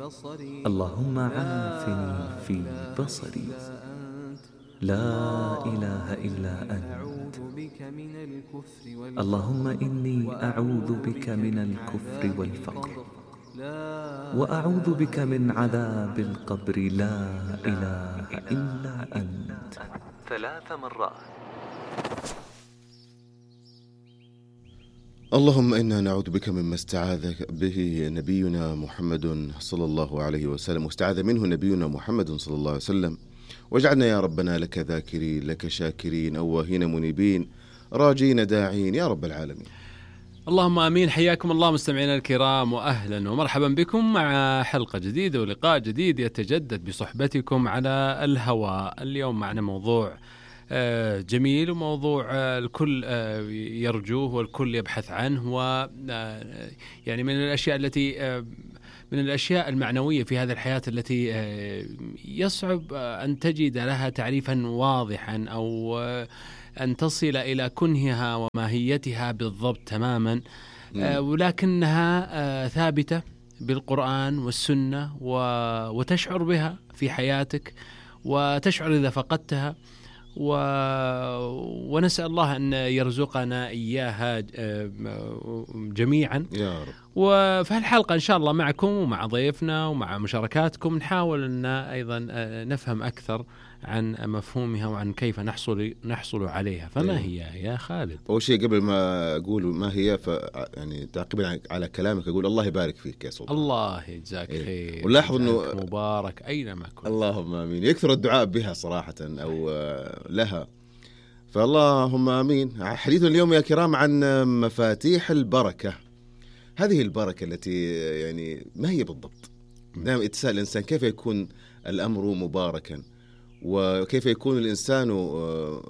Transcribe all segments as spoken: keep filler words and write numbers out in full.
اللهم عافني في بصري، لا إله إلا أنت. اللهم إني أعوذ بك من الكفر والفقر، وأعوذ بك من عذاب القبر، لا إله إلا أنت، ثلاث مرات. اللهم إنا نعوذ بك مما استعاذ به نبينا محمد صلى الله عليه وسلم، واستعاذ منه نبينا محمد صلى الله عليه وسلم، واجعلنا يا ربنا لك ذاكرين، لك شاكرين، أواهين منيبين، راجين داعين يا رب العالمين. اللهم آمين. حياكم الله مستمعينا الكرام، وأهلا ومرحبا بكم مع حلقة جديدة ولقاء جديد يتجدد بصحبتكم على الهواء. اليوم معنا موضوع جميل، وموضوع الكل يرجوه والكل يبحث عنه، و يعني من الأشياء التي من الأشياء المعنوية في هذه الحياة التي يصعب أن تجد لها تعريفا واضحا أو أن تصل إلى كنهها وماهيتها بالضبط تماما، ولكنها ثابتة بالقرآن والسنة، وتشعر بها في حياتك وتشعر إذا فقدتها، و... ونسأل الله أن يرزقنا إياها جميعا يا رب. وفي الحلقة إن شاء الله معكم ومع ضيفنا ومع مشاركاتكم نحاول أن أيضا نفهم أكثر عن مفهومها وعن كيف نحصل نحصل عليها. فما هي يا خالد؟ أول شيء قبل ما أقول ما هي، ف يعني تعقيبا على كلامك أقول الله يبارك فيك يا سلطان. الله يجزاك خير. إيه. ولاحظ إنه مبارك أينما كنت. اللهم آمين. يكثر الدعاء بها صراحة أو لها، فاللهم آمين. حديث اليوم يا كرام عن مفاتيح البركة. هذه البركة التي يعني ما هي بالضبط؟ دائما يتساءل الإنسان كيف يكون الأمر مباركا، وكيف يكون الإنسان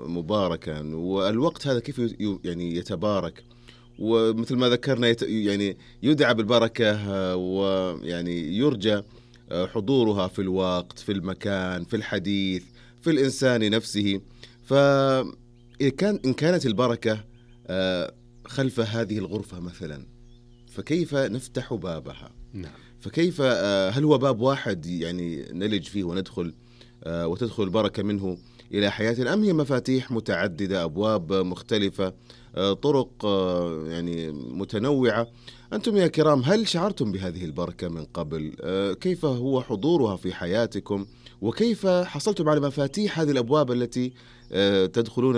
مباركا، والوقت هذا كيف يعني يتبارك، ومثل ما ذكرنا يعني يدعى بالبركة، ويعني يرجى حضورها في الوقت، في المكان، في الحديث، في الإنسان نفسه. فإن كان إن كانت البركة خلف هذه الغرفة مثلا، فكيف نفتح بابها؟ نعم. فكيف هل هو باب واحد يعني نلج فيه وندخل وتدخل البركة منه إلى حياتنا، أم هي مفاتيح متعددة، أبواب مختلفة، طرق يعني متنوعة؟ أنتم يا كرام هل شعرتم بهذه البركة من قبل؟ كيف هو حضورها في حياتكم؟ وكيف حصلتم على مفاتيح هذه الأبواب التي تدخلون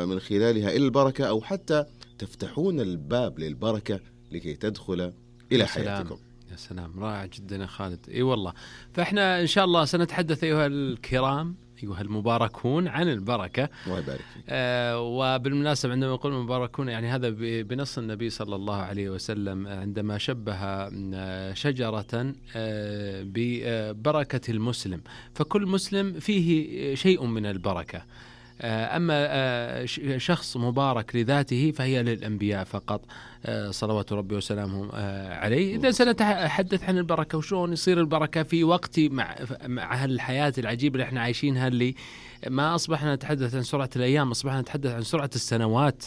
من خلالها إلى البركة، أو حتى تفتحون الباب للبركة لكي تدخل إلى حياتكم؟ يا سلام، رائع جدا يا خالد. اي والله. فاحنا ان شاء الله سنتحدث ايها الكرام، ايها المباركون، عن البركه. الله يبارك فيك. آه وبالمناسبه عندما نقول مباركون يعني هذا بنص النبي صلى الله عليه وسلم عندما شبه شجره آه ببركه المسلم، فكل مسلم فيه شيء من البركه. أما شخص مبارك لذاته فهي للأنبياء فقط صلوات ربي وسلامهم عليه. إذا سنتحدث عن البركة وشلون يصير البركة في وقت مع مع الحياة العجيبة اللي احنا عايشينها، اللي ما أصبحنا نتحدث عن سرعة الأيام، أصبحنا نتحدث عن سرعة السنوات،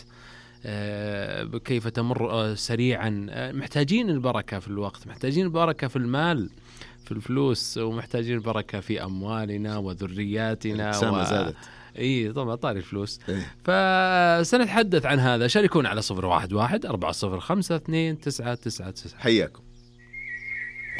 كيف تمر سريعا. محتاجين البركة في الوقت، محتاجين البركة في المال، في الفلوس، ومحتاجين البركة في أموالنا وذرياتنا و... زادت. اي طبعا طاري الفلوس. إيه؟ فسنتحدث عن هذا. شاركونا على صفر واحد واحد أربعة صفر خمسة اثنين تسعة تسعة تسعة. حياكم.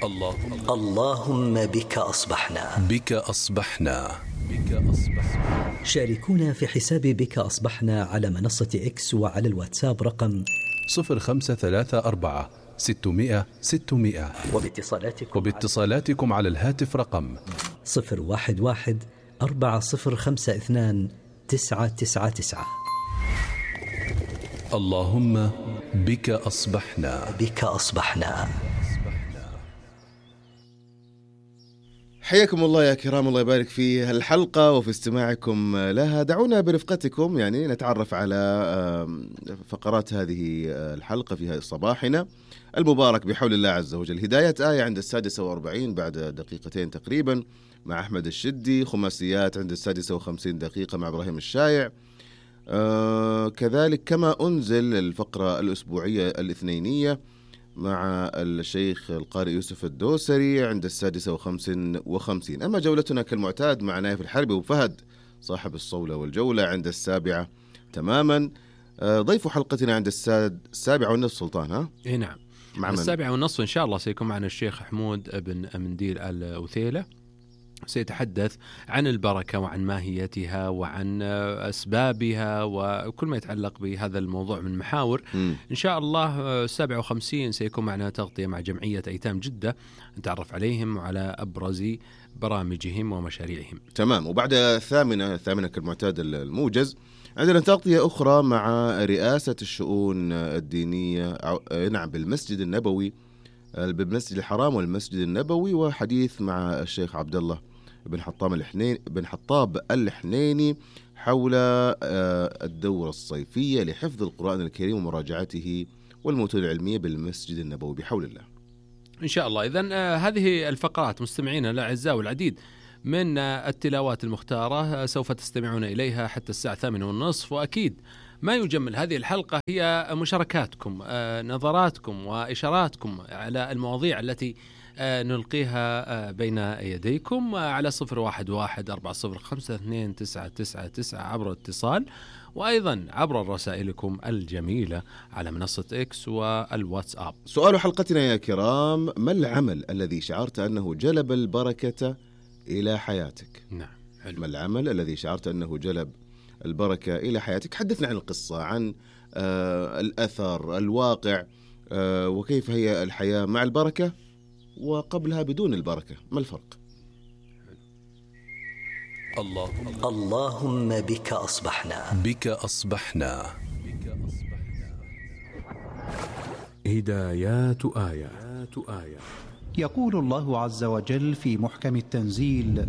اللهم اللهم بك أصبحنا بك أصبحنا بك أصبحنا. شاركونا في حساب بك أصبحنا على منصة إكس وعلى الواتساب رقم صفر خمسة ثلاثة أربعة ستمائة ستمائة، وباتصالاتكم وباتصالاتكم على الهاتف رقم صفر واحد واحد أربعة صفر خمسة اثنان تسعة تسعة تسعة. اللهم بك أصبحنا بك أصبحنا. حياكم الله يا كرام، الله يبارك في الحلقة وفي استماعكم لها. دعونا برفقتكم يعني نتعرف على فقرات هذه الحلقة في صباحنا المبارك بحول الله عز وجل. هداية آية عند السادسة وأربعين بعد دقيقتين تقريبا مع أحمد الشدي. خماسيات عند السادسة وخمسين دقيقة مع إبراهيم الشايع. آه كذلك كما أنزل الفقرة الأسبوعية الاثنينية مع الشيخ القارئ يوسف الدوسري عند السادسة وخمس وخمسين. أما جولتنا كالمعتاد مع نايف الحربي وفهد صاحب الصولة والجولة عند السابعة تماما. ضيف حلقتنا عند الساد السابعة والنصف سلطان. ها إيه نعم، مع السابعة والنصف إن شاء الله سيكون معنا الشيخ حمود بن منديل الأوثيلة، سيتحدث عن البركة وعن ماهيتها وعن أسبابها وكل ما يتعلق بهذا الموضوع من محاور. م. إن شاء الله سبعة وخمسين سيكون معنا تغطية مع جمعية أيتام جدة، نتعرف عليهم وعلى أبرز برامجهم ومشاريعهم. تمام. وبعد الثامنة الثامنة كالمعتاد الموجز عندنا تغطية أخرى مع رئاسة الشؤون الدينية نعم بالمسجد النبوي، بالمسجد الحرام والمسجد النبوي، وحديث مع الشيخ عبد الله بن حطام الحنين بن حطاب الحنيني حول الدورة الصيفية لحفظ القرآن الكريم ومراجعته والمتون العلمية بالمسجد النبوي بحول الله إن شاء الله. إذن هذه الفقرات مستمعينا الأعزاء والعديد من التلاوات المختارة سوف تستمعون إليها حتى الساعة الثامنة والنصف، وأكيد ما يجمل هذه الحلقة هي مشاركاتكم، نظراتكم وإشاراتكم على المواضيع التي نلقيها بين يديكم على صفر واحد واحد أربعة صفر خمسة اثنين تسعة تسعة تسعة عبر الاتصال، وأيضا عبر رسائلكم الجميلة على منصة إكس والواتساب. سؤال حلقتنا يا كرام: ما العمل الذي شعرت أنه جلب البركة إلى حياتك؟ نعم حلو. ما العمل الذي شعرت أنه جلب البركة إلى حياتك؟ حدثنا عن القصة، عن آه الأثر، الواقع، آه وكيف هي الحياة مع البركة وقبلها بدون البركة، ما الفرق؟ الله اللهم بك أصبحنا بك أصبحنا هدايات آيات آيات. يقول الله عز وجل في محكم التنزيل: